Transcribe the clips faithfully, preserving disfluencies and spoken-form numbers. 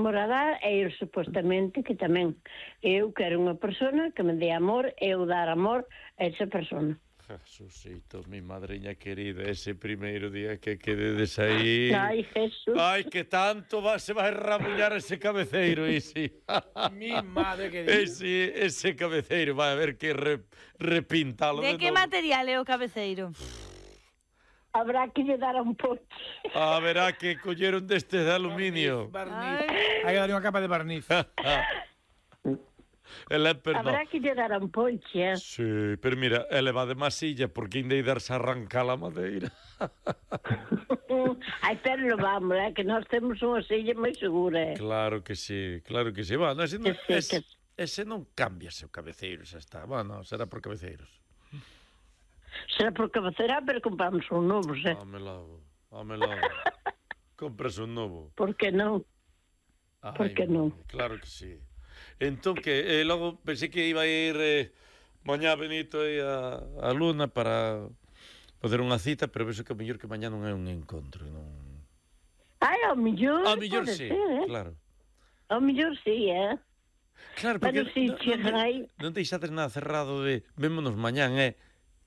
Morará é ir supostamente que tamén eu quero unha persona que me dé amor e eu dar amor a esa persona. Jesucito, mi madriña querida, ese primeiro día que quededes aí... Ai, Jesús. Ai, que tanto va, se vai rabullar ese cabeceiro, isi. Mi madre querida. Ese, ese cabeceiro, vai a ver que re, repintalo. De que material é o cabeceiro? Habrá que lle dar un poche. A verá que colleron destes de aluminio. Barniz. Hai que darle unha capa de barniz. Ele, perdón. Habrá que lle dar un poche. Sí, pero mira, ele va de masilla porque ainda hai darse arrancar a madeira. Ai, pero lo vamos, é que nós temos unha silla moi segura. Claro que sí, claro que sí. Bueno, ese non, Que sí, ese, ese non cambia o cabeceiro, xa está. Bueno, será por cabeceiros. Será por cabeceira, pero compramos un novo, xe. Hámelo, hámelo. Compras un novo. Por que non? Por que non? Claro que sí. Entón que, eh, logo pensei que iba a ir eh, mañá Benito e a, a Luna para poder unha cita, pero vexo que o mellor que mañá non é un encontro, non... Ai, ao millor, ao mellor pode sí, ser, eh? claro. Ao millor sí, eh? Claro, porque Pero si non, chegan non, aí... non deixades nada cerrado de vémonos mañán, é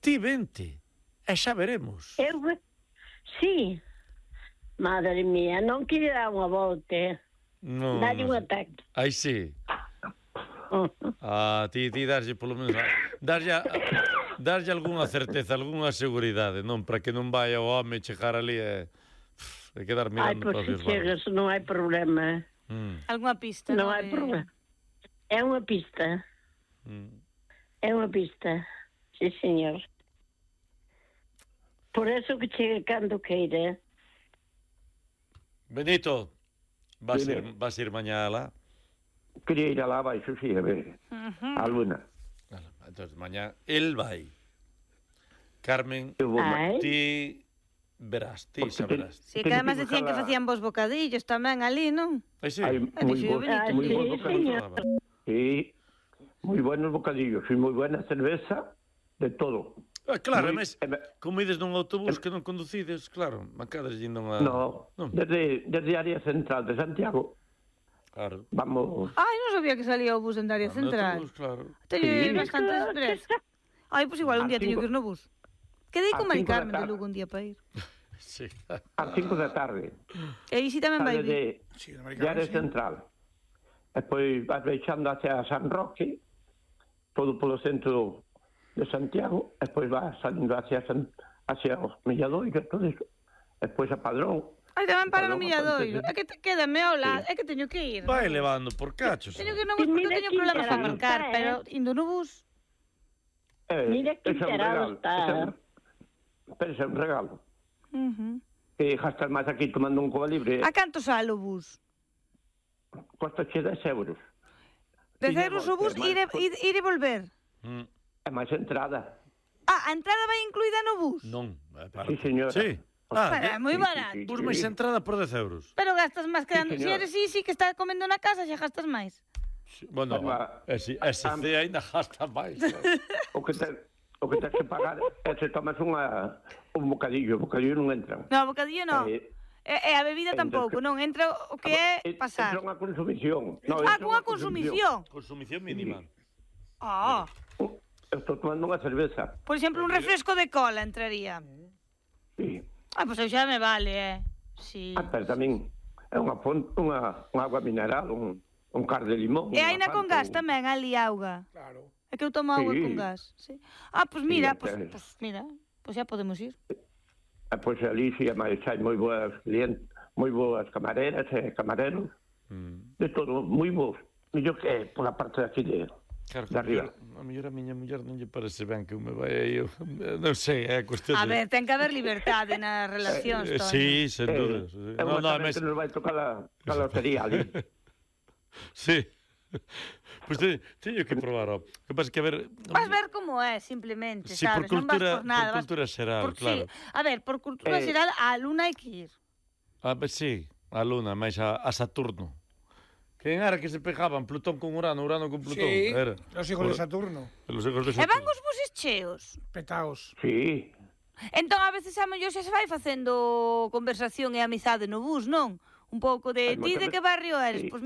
ti vente, e xa veremos. Eu, sí. Madre mía, non quere dar unha volta, eh? No, Dalle un no. ataque. Aí sí. Ah, ti, ti darlle polo menos darlle, darlle algunha certeza, algunha seguridade, non? Para que non vai o home chegar ali e de quedar Ai, mirando pois para os se chegas, non hai problema. mm. Algunha pista, Non non? hai De... problema. É unha pista. Mm. É unha pista. Sí, señor. Por eso que chegue cando queira. Benito, vas Dime. ir, vas ir mañá lá? Quería ir alá abaixo, sí, a ver, Uh-huh. a Luna. Entonces, mañá el vai. Carmen, Eu vou Ai. ti verás, ti Porque saberás. Si que además decían que facían vos bocadillos tamén ali, non? Aí sí. Hai Ai, moi dixo, bons, Benito. moi Sí, bons bocadillos. señor. Sí, moi buenos bocadillos e moi buena cerveza, de todo. Ah, claro, Moi- mas eh, como ides nun autobús que non conducides, claro, macades indo a... No, non. desde, desde a área central de Santiago, Claro. vamos... Ai, non sabía que salía o bus en área No central. autobús, claro. Teño Sí. bastantes express. Ai, pois igual un A día teño cinco- que ir no bus. Quedei a con Mari cinco da Carmen de tarde. Lugo un día para ir. Sí. ás cinco da tarde, E aí si tamén vai sales vir. de, Sí, de de Americano, área sí. central. Despois vas baixando hacia San Roque, todo polo centro de Santiago, despois vas salindo hacia, San, hacia os Milladoiros, todo eso. Despois a Padrón. Ai, tamén para no Padrón, Milladoiro. bastante, É que te, quédame ao lado, é que teño que ir. Vai levando por cachos. Teño que ir no Sí, bus porque mira teño que problemas para interano marcar, está, pero eh. indo no bus... Eh, Mira que ese é un enterado regalo, está. ese é un- Pero ese é un regalo. Uh-huh. Que gastas máis aquí tomando un coba libre, A canto sale o bus? costa che dez euros. Dez Tiña euros o bus, volta, ir e, máis- ir, ir e volver. Mm, É máis entrada. Ah, a entrada vai incluída no bus? non, é para... Sí, señora. Sí. Ah, Pero é moi barato. bus máis entrada por dez euros. Pero gastas máis que... Sí, dando- si señor. eres Isi que está comendo na casa, xa gastas máis. Sí, bueno, Toma. ese, ese Ah, C ainda gasta máis. Claro. O que te, o que tens que pagar é se tomas unha, un bocadillo, o bocadillo non entran. No, bocadillo non. Eh, E, e a bebida entón tampouco, que- non. Entra o que é Eh, pasar. Entra unha consumición. No, Ah, entra cunha unha consumición. Consumición mínima. Ah, Eu estou tomando unha cerveza. por exemplo, un refresco de cola entraría. Sí. Ah, pois pues xa me vale, eh. Sí. Ah, pero tamén é unha fonte, unha, unha agua mineral, un, un car de limón. E unha aina con Fanta, gas un- tamén, ali auga. Claro. É que eu tomo auga Sí. con gas. Sí. Ah, pois pues mira, Sí, pois entonces- pues, pues mira, pois pues xa podemos ir. E pois ali si é máis, hai moi boas clientes, moi boas camareras e camareros, Mm. de todo, moi bons. Mellor que pola parte de aquí de, Claro, de arriba. a mellor a miña muller non lle parece ben que eu me vai aí, eu, non sei, é cuestión A de... ver, ten que haber liberdade nas relacións, Eh, Toño. sí, sen Eh, dúdas. é No, unha no, tamén mes... que nos vai tocar a, a lotería ali. Sí. Pois pues te, teño que probar, ó. Que pasa que, a ver... Vas ver como é, simplemente, Sí, por sabes? Non vas cultura, por nada. por vas- cultura xeral, por, claro. Sí. A ver, por cultura Eh. xeral, a Luna hai que ir. Ah, pues sí, a Luna, máis a, a Saturno. Que en era que se pegaban Plutón con Urano, Urano con Plutón. Sí, Era. los hijos de Saturno. Los hijos de E van Saturno. os buses cheos. Petaos. Sí, Entón, a veces a mellor xa se vai facendo conversación e amizade no bus, non? Un pouco de Ai, ti de moita- que barrio eres? sí. Pois